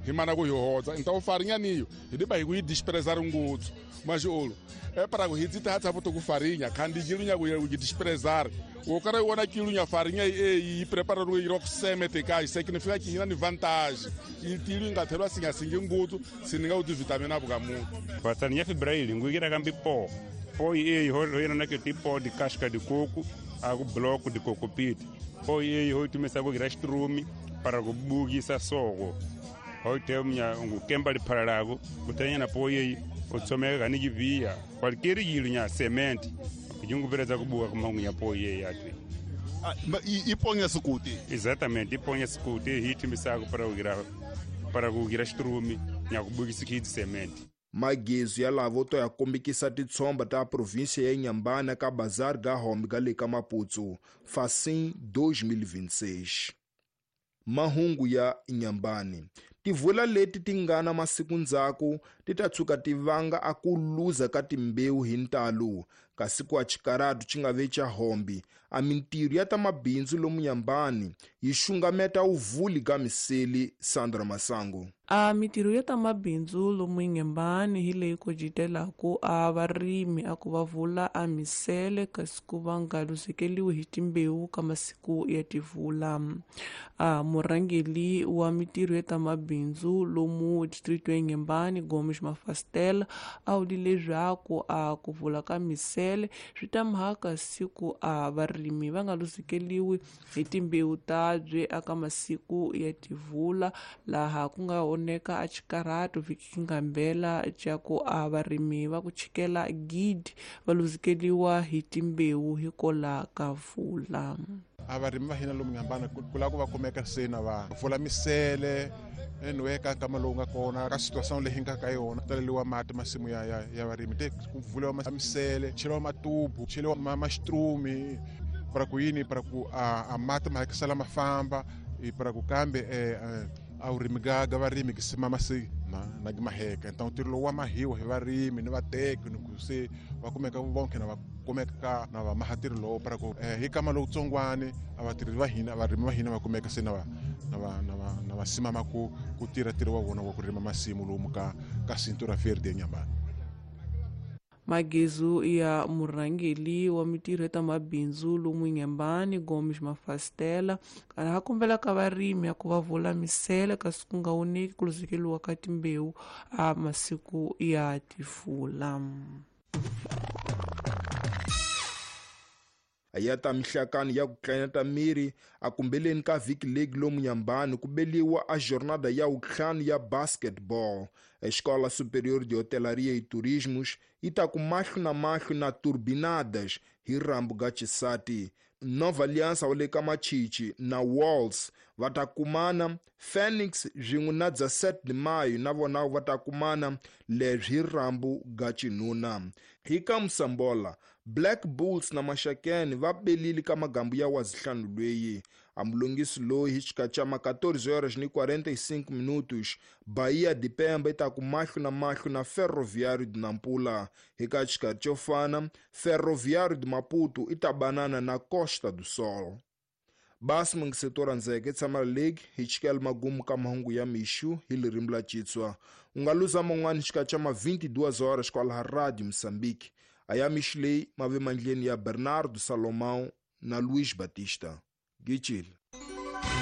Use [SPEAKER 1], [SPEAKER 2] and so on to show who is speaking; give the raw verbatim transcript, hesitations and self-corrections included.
[SPEAKER 1] Hi mana ku hi hodza então farinha niyo hi diba hi ku yi desprezar ngutsu mas olo é para ku hi tata boto ku farinha kandi jilunya ku yi desprezar o cara wona kilunya farinha e yi preparar o irok semete kai significa que hina ni vantagem e tilu ingathelwa singa singe ngutsu sininga uti vitamina bukamuntu
[SPEAKER 2] farinha fibrail ngugira kambi po po e ho hina na ke tipo de casca de coco a bloco de coco pit po e ho tumesa ku grastrumi para kubukisa soko hoite mnya ngukemba liphalalago kutanya na poye otsomeka ni jivia qualquer yilunya cement kijungupereza kubuka kumangunya poye yatwe
[SPEAKER 3] iponya sukuti
[SPEAKER 2] exatamente iponya sukuti hitimisako para kugira para kugira strumi nya kubukisa kidi cement
[SPEAKER 4] Magezu ya lavo to ya kombikisa titshomba ta província ya Inhambane ka Bazar ga Home ga le ka Maputo Facim dois mil e vinte e seis. Mahungu ya Inhambane tivula leti ti nga na masiku ndzhaku ti ta tshuka ti vanga a ku luza ka timbewu hi ntalo kasi ku a xikaratu xi nga ve xa hombi a mintirho ya ta mabindzu lomu Inhambane yi xungameta uvuli ka miseli Sandra Masango.
[SPEAKER 5] A mintirho ya ta mabindzu lomu Inhambane hi leyi kojitelaku a varimi a ku va vula a misele kasi ku va nga luzekeliwi hi timbewu ka masiku ya tivula. A murhangeli wa mintirho ya ta mabindzu lomu distrito ya Inhambane Gomes Mafastela a vule leswaku a ku vula ka misele swi ta mhaka siku a varimi va nga luzekeliwi hi timbewu tabye aka masiku ya tivula laha ku nga oneka a xikaratu vhiki ngambela xa ku a varimi va ku chikela gidi va luzekeliwa hi timbewu hikola ka vula.
[SPEAKER 6] A varimi va hina lomu Inhambane ku lava ku va kumeka sena va vula misele anyway ka nkama lowu nga kona ka situação leyi nga ka yona taleliwa mati masimu ya ya ya varimi te ku vuliwa misele cheliwa matubu cheliwa mastrumi para ku yini para ku a, a mati ma hakisela ma famba e para ku kambe eh, a urimi ga ga varimi ki simama se na na maheka então ntirho lowu wa mahiwa hi varimi ni vateki ni ku se va kumeka vonke na va kumeka na va maha ntirho lowu para ku eh, hi kama lowutsongwani a vatirhi va hina varimi va hina va kumeka se na va na va na va na va simama ku ku tirha ntirho wa vona wa ku rima masimu lomu ka ka Cintura Verde Inhambane.
[SPEAKER 5] Magezu ya murhangeli wa mintirho ya ta mabindzu lomu Inhambane Gomes Mafastela kana ha kombela ka varimi ya ku va vula misele kasi ku nga oneki ku luzekeliwa ka timbewu a masiku ya tifula.
[SPEAKER 4] Ya ta mihlakani ya ku tlaneta miri a kumbeleni ka vhiki league lomu Inhambane ku beliwa a jornada ya wutlhanu ya basketball. Escola Superior de Hotelaria e Turismos yi ta ku mahlo na mahlo na Turbinadas hi rambu ga Chisati. Nova Aliança wa le ka Machichi na Walls va ta kumana Phoenix swin'we na dezessete de Maio na vona va ta kumana leswi hi rambu ga Chinuna. Hi ka Musambola Black Bulls na Maxakeni va belile ka magambu ya wazihlanu lweyi. A mulungisi loyi hi xikatsa ma quatorze horas ni quarenta e cinco minutos Bahia de Pemba yi ta ku mahlo na mahlo na Ferroviário de Nampula. Hi ka xikarhi xo fana Ferroviário de Maputo i ta banana na Costa do Sol. Basi mungisetora ndzeke tshama league hi chikela magumu ka mahungu ya mixu hi lirimi la Xitswa. U nga luza man'wani xikatsa ma vinte e duas horas kwalaha Radio Moçambique. A ya mixu leyi mave mandleni ya Bernardo Salomão na Luís Batista. Gichile.